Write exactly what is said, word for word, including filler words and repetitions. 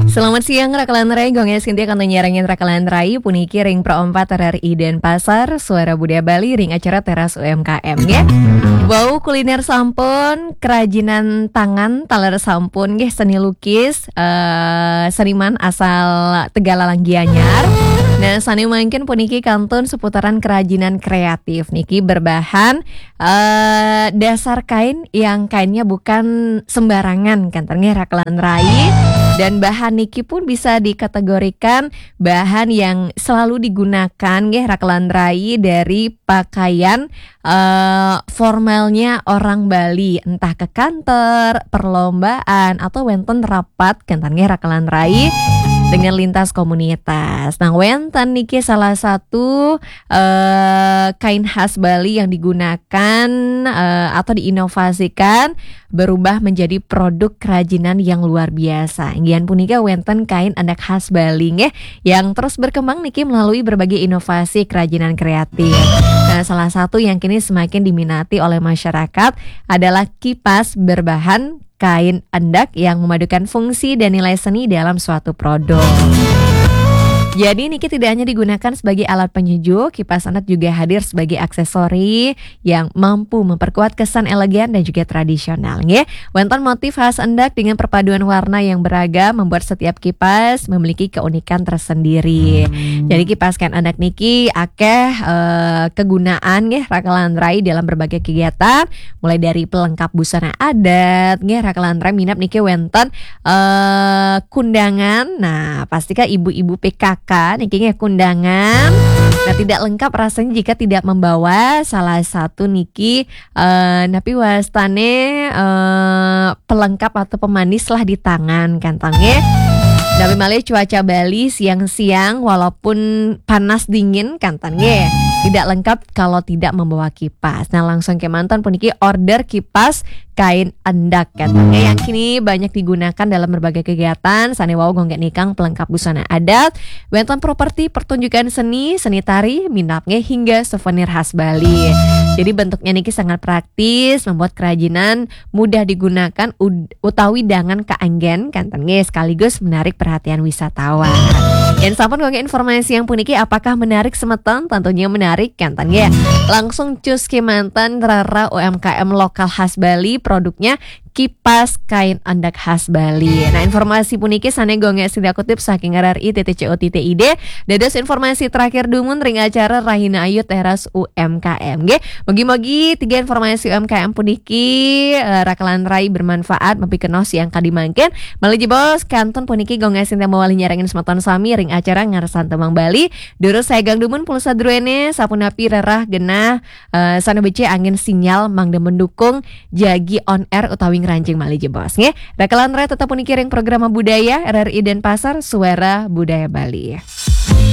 Selamat siang, Rakalan Rai. Gong Sintia kantun nyarengin Rakalan Rai puniki ring Pro empat R R I Denpasar, Suara Budaya Bali, ring acara Teras U M K M, ya. Bau kuliner sampun, kerajinan tangan, taler sampun, nggih, seni lukis, eh, seniman asal Tegallalang Gianyar. Nah, sane mangkin puniki kantun seputaran kerajinan kreatif niki berbahan eh, dasar kain yang kainnya bukan sembarangan, kenten nggih, Rakalan Rai. Dan bahan niki pun bisa dikategorikan bahan yang selalu digunakan nggih, Rakalan Rai, dari pakaian eh, formalnya orang Bali, entah ke kantor, perlombaan, atau wenten rapat, kenten nggih, Rakalan Rai, dengan lintas komunitas. Nah, wenten niki salah satu eh, kain khas Bali yang digunakan eh, atau diinovasikan berubah menjadi produk kerajinan yang luar biasa. Inggihan punika wenten kain endak khas Bali nggih, yang terus berkembang niki melalui berbagai inovasi kerajinan kreatif. Nah, salah satu yang kini semakin diminati oleh masyarakat adalah kipas berbahan kain endak yang memadukan fungsi dan nilai seni dalam suatu produk. Jadi, niki tidak hanya digunakan sebagai alat penyejuk, kipas endak juga hadir sebagai aksesori yang mampu memperkuat kesan elegan dan juga tradisional, nggih. Wenten motif khas endak dengan perpaduan warna yang beragam membuat setiap kipas memiliki keunikan tersendiri. Jadi, kipas kain endak niki akeh eh, kegunaan, nggih, Rakalan Rai, dalam berbagai kegiatan, mulai dari pelengkap busana adat, nggih, Rakalan Rai, minab niki wenten eh, kundangan. Nah, pastika ibu-ibu P K K niki nggih kundangan. Nah, tidak lengkap rasanya jika tidak membawa salah satu niki eh, napi wastane eh, pelengkap atau pemanis lah di tangan, kenten nggih. Napi malih cuaca Bali siang-siang walaupun panas dingin, kenten nggih, tidak lengkap kalau tidak membawa kipas. Nah, langsung kemanten puniki order kipas kain endak, kenten nggih, yang kini banyak digunakan dalam berbagai kegiatan. Sane wau gong nikang pelengkap busana adat, wenten properti pertunjukan seni, seni tari, minab nggih, hingga souvenir khas Bali. Jadi, bentuknya niki sangat praktis, membuat kerajinan mudah digunakan ud- utawi dangan kaanggen, kenten nggih, sekaligus menarik perhatian wisatawan. Yen sampun gong informasi yang puniki, apakah menarik semeton? Tentunya menarik, kenten nggih. Langsung cus kemanten rara U M K M lokal khas Bali, produknya kipas kain endak khas Bali. Nah, informasi puniki sane gong sintia kutip saking R R I titik C O titik I D. Dados informasi terakhir dumun ring acara Rahina Ayu Teras U M K M, nggih. Mugi-mugi tiga informasi U M K M puniki eh, Rakalan Rai bermanfaat mapikenoh siang kadi mangkin. Malih jebos kantun puniki gong sintia mawali nyarengin semeton sami ring acara Ngarsan Tembang Bali. Durus saegang dumun pulsa druene, sapunapi rerah genah eh, sane becik angin sinyal mangda mendukung jagi on air utawi ngranjing malih jebos, nggih. Rakalan Rai tetep puniki ring programa budaya R R I Denpasar, Suara Budaya Bali.